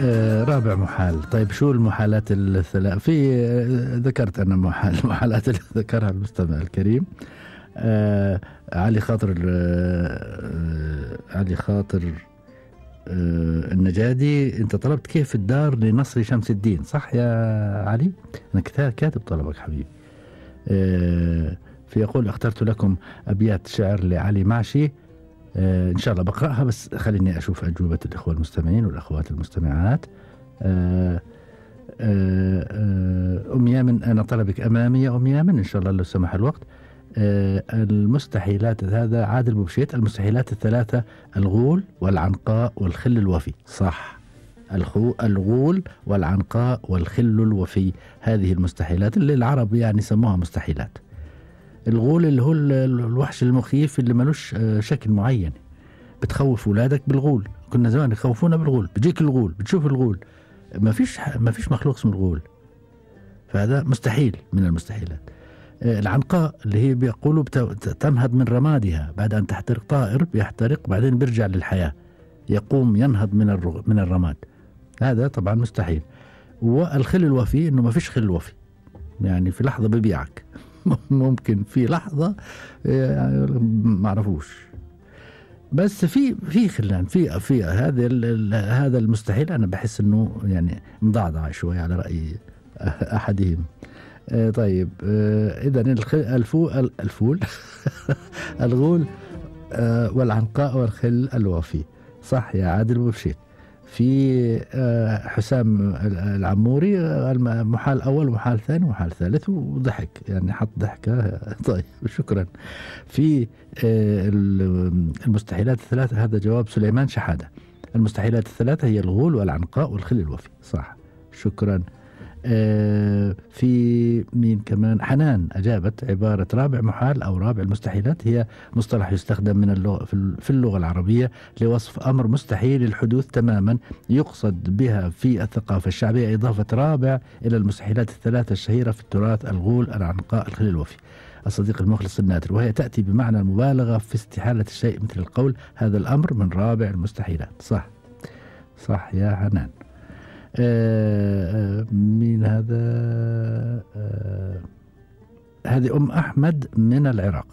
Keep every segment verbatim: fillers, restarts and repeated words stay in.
آه رابع محال. طيب شو المحالات الثلاث في آه ذكرت أنا محال المحالات اللي ذكرها المستمع الكريم. آه علي خاطر آه علي خاطر آه النجادي، أنت طلبت كيف الدار لنصر شمس الدين، صح يا علي؟ أنا كاتب طلبك حبيبي. آه في يقول اخترت لكم أبيات شعر لعلي معشي، آه إن شاء الله بقرأها، بس خليني أشوف أجوبة الإخوة المستمعين والأخوات المستمعات. آه آه أم يامن، أنا طلبك أمامي يا أم يامن إن شاء الله لو سمح الوقت. آه المستحيلات، هذا عادل بوبشيت. المستحيلات الثلاثة: الغول والعنقاء والخل الوفي. صح، الخو الغول والعنقاء والخل الوفي، هذه المستحيلات اللي العرب يعني سموها مستحيلات. الغول اللي هو الوحش المخيف اللي ملوش شكل معين، بتخوف أولادك بالغول. كنا زمان يخوفونا بالغول، بيجيك الغول، بتشوف الغول، ما فيش ما فيش مخلوق اسمه الغول، فهذا مستحيل من المستحيلات. العنقاء اللي هي بيقولوا تنهض من رمادها بعد أن تحترق، طائر بيحترق بعدين بيرجع للحياة، يقوم ينهض من من الرماد، هذا طبعا مستحيل. والخل الوفي إنه ما فيش خل وفي، يعني في لحظة ببيعك ممكن في لحظة يعني ما عرفوش، بس في في خلان في في هذا هذا المستحيل. أنا بحس إنه يعني مضعضع شوي على رأي أحدهم. آه طيب آه إذا الفول الفول الغول آه والعنقاء والخل الوفي، صح يا عادل بوبشيت. في آه حسام العموري، محال أول ومحال ثاني ومحال ثالث، وضحك يعني حط ضحكة. طيب شكرا. في آه المستحيلات الثلاثة، هذا جواب سليمان شحادة. المستحيلات الثلاثة هي الغول والعنقاء والخل الوفي، صح، شكرا. آه في مين كمان؟ حنان أجابت عبارة رابع محال أو رابع المستحيلات هي مصطلح يستخدم من اللغة في اللغة العربية لوصف أمر مستحيل الحدوث تماما، يقصد بها في الثقافة الشعبية إضافة رابع إلى المستحيلات الثلاثة الشهيرة في التراث: الغول، العنقاء، الخل الوفي. الصديق المخلص النادر، وهي تأتي بمعنى المبالغة في استحالة الشيء، مثل القول هذا الأمر من رابع المستحيلات. صح صح يا حنان. آه مين هذا؟ آه هذه أم أحمد من العراق.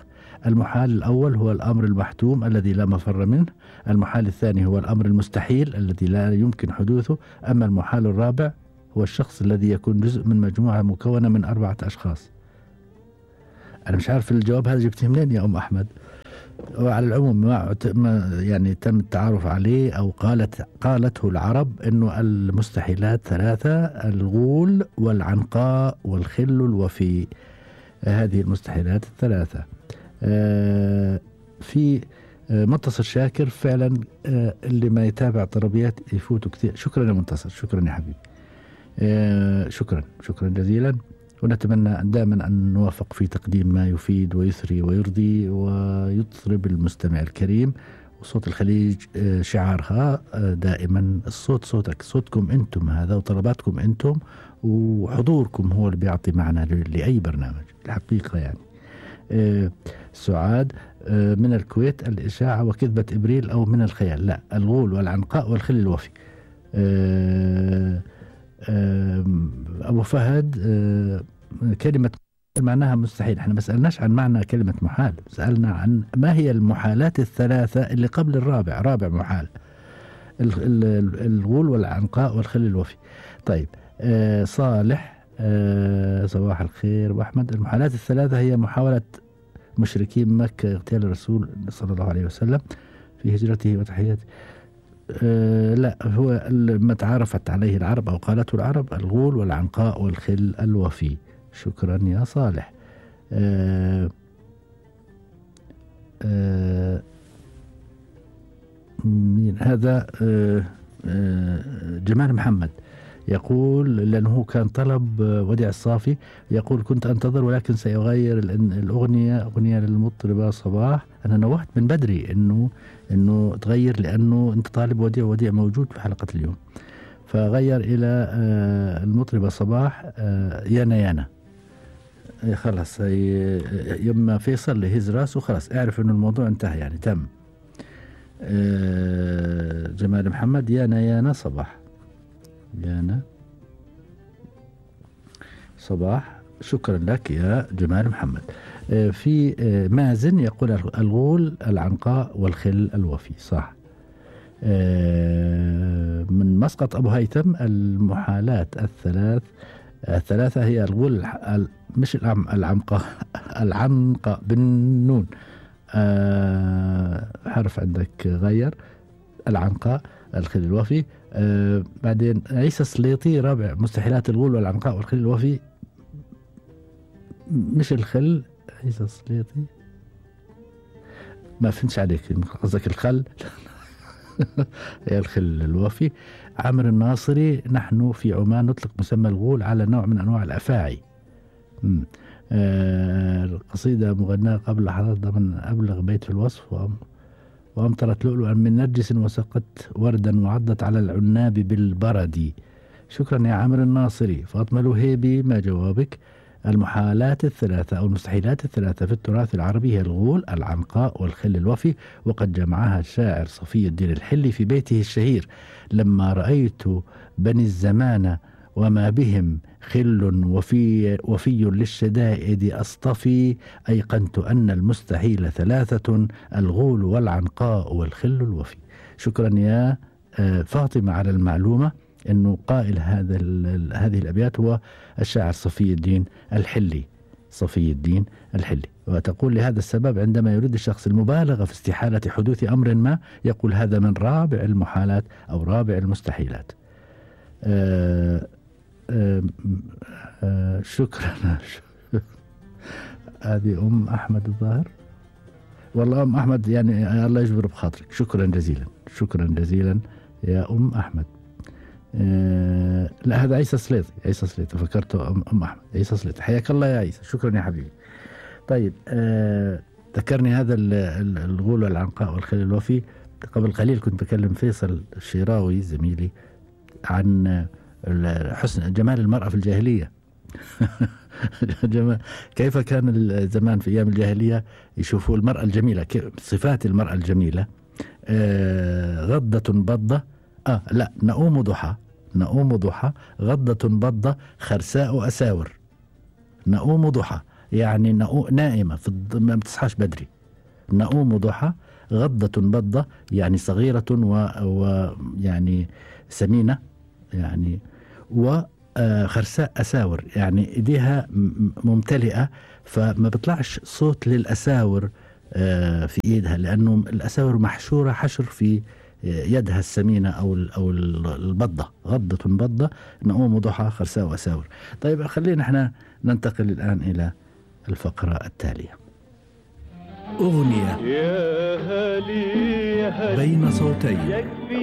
المحال الأول هو الأمر المحتوم الذي لا مفر منه. المحال الثاني هو الأمر المستحيل الذي لا يمكن حدوثه. أما المحال الرابع هو الشخص الذي يكون جزء من مجموعة مكونة من أربعة أشخاص. أنا مش عارف الجواب هذا جبته منين يا أم أحمد. وعلى العموم ما يعني تم التعارف عليه أو قالت قالته العرب إنه المستحيلات ثلاثة: الغول والعنقاء والخل الوفي، هذه المستحيلات الثلاثة. آه في آه منتصر شاكر، فعلا آه اللي ما يتابع طربيات يفوتوا كثير. شكرا يا منتصر، شكرا يا حبيبي. آه شكرا شكرا جزيلا، ونتمنى دائما أن نوافق في تقديم ما يفيد ويثري ويرضي ويطرب المستمع الكريم. وصوت الخليج شعارها دائما الصوت صوتك، صوتكم أنتم هذا وطلباتكم أنتم وحضوركم هو اللي بيعطي معنى لأي برنامج الحقيقة يعني. سعاد من الكويت، الإشاعة وكذبة إبريل أو من الخيال؟ لا، الغول والعنقاء والخل الوفي. أبو فهد، كلمة معناها مستحيل. احنا ما سألناش عن معنى كلمة محال، سألنا عن ما هي المحالات الثلاثة اللي قبل الرابع، رابع محال الغول والعنقاء والخل الوفي. طيب آه صالح، آه صباح الخير وأحمد. المحالات الثلاثة هي محاولة مشركين مكة اغتيال الرسول صلى الله عليه وسلم في هجرته وتحياته. آه لا، هو ما تعرفت عليه العرب أو قالته العرب: الغول والعنقاء والخل الوفي. شكرا يا صالح. آه آه مين هذا؟ آه آه جمال محمد يقول، لأنه كان طلب وديع الصافي، يقول: كنت أنتظر ولكن سيغير الأغنية أغنية للمطربة صباح. أنا نوهت من بدري إنه إنه تغير، لأنه أنت طالب وديع، وديع موجود في حلقة اليوم، فغير إلى آه المطربة صباح آه يانا يانا. خلاص يما فيصل لهز راسه، خلاص اعرف إنه الموضوع انتهى يعني تم. آه جمال محمد، يانا يانا صباح. يانا صباح. شكرا لك يا جمال محمد. آه، في آه، مازن يقول الغول العنقاء والخل الوفي. صح. آه، من مسقط أبو هيثم المحالات الثلاث الثلاثة هي الغول الح- ال- مش العم العنقاء العنقاء بالنون. آه، حرف عندك غير. العنقاء الخل الوفي. آه، بعدين عيسى السليطي رابع مستحيلات الغول والعنقاء والخل الوفي. مش الخل. عيسى السليطي ما فهمتش عليك، قصدك الخل. هي الخل الوفي. عامر الناصري نحن في عمان نطلق مسمى الغول على نوع من أنواع الأفاعي. مم. آه القصيدة مغناة قبل لحظات ضمن أبلغ بيت في الوصف. وأم- وأمطرت لؤلؤا من نرجس وسقت وردا وعضت على العناب بالبرد. شكرا يا عامر الناصري. فاطمة الوهيبي ما جوابك؟ المحالات الثلاثة أو المستحيلات الثلاثة في التراث العربي هي الغول العنقاء والخل الوفي، وقد جمعها الشاعر صفي الدين الحلي في بيته الشهير: لما رأيت بني الزمان وما بهم خل وفي, وفي للشدائد أصطفي، أيقنت أن المستحيل ثلاثة: الغول والعنقاء والخل الوفي. شكرا يا آه، فاطمة على المعلومة أنه قائل هذا ال- هذه الأبيات هو الشاعر صفي الدين الحلي. صفي الدين الحلي. وتقول لهذا السبب عندما يريد الشخص المبالغة في استحالة حدوث أمر ما يقول هذا من رابع المحالات أو رابع المستحيلات. آه آه آه شكرا. هذه أم أحمد الظاهر. والله أم أحمد يعني الله يجبر بخاطرك. شكرا جزيلا. شكرا جزيلا يا أم أحمد. آه لا هذا عيسى سليطي. عيسى سليطي فكرته أم, أم أحمد. عيسى سليطي. حياك الله يا عيسى. شكرا يا حبيبي. طيب آه ذكرني هذا ال- ال- الغول والعنقاء والخل الوفي. قبل قليل كنت بكلم فيصل الشيراوي زميلي عن ال- حسن جمال المرأة في الجاهلية. جمال كيف كان ال- زمان في أيام الجاهلية يشوفوا المرأة الجميلة، كيف- صفات المرأة الجميلة. آه غضة بضة. آه لا نؤوم ضحى. نؤوم ضحى غضة بضة خرساء أساور. نؤوم ضحى يعني نؤو نائمة في الض- ما بتصحاش بدري. نؤوم ضحى غضة بضة يعني صغيرة ويعني سمينة يعني، وخرساء أساور يعني إيديها م- ممتلئة فما بيطلعش صوت للأساور آه، في إيدها، لأنه الأساور محشورة حشر في يدها السمينة أو ال- أو ال- البضة. غضة بضة نؤوم ضحى خرساء وأساور. طيب خلينا احنا ننتقل الآن إلى الفقرة التالية. أغنية يا هلي يا هلي بين صوتين. يكفي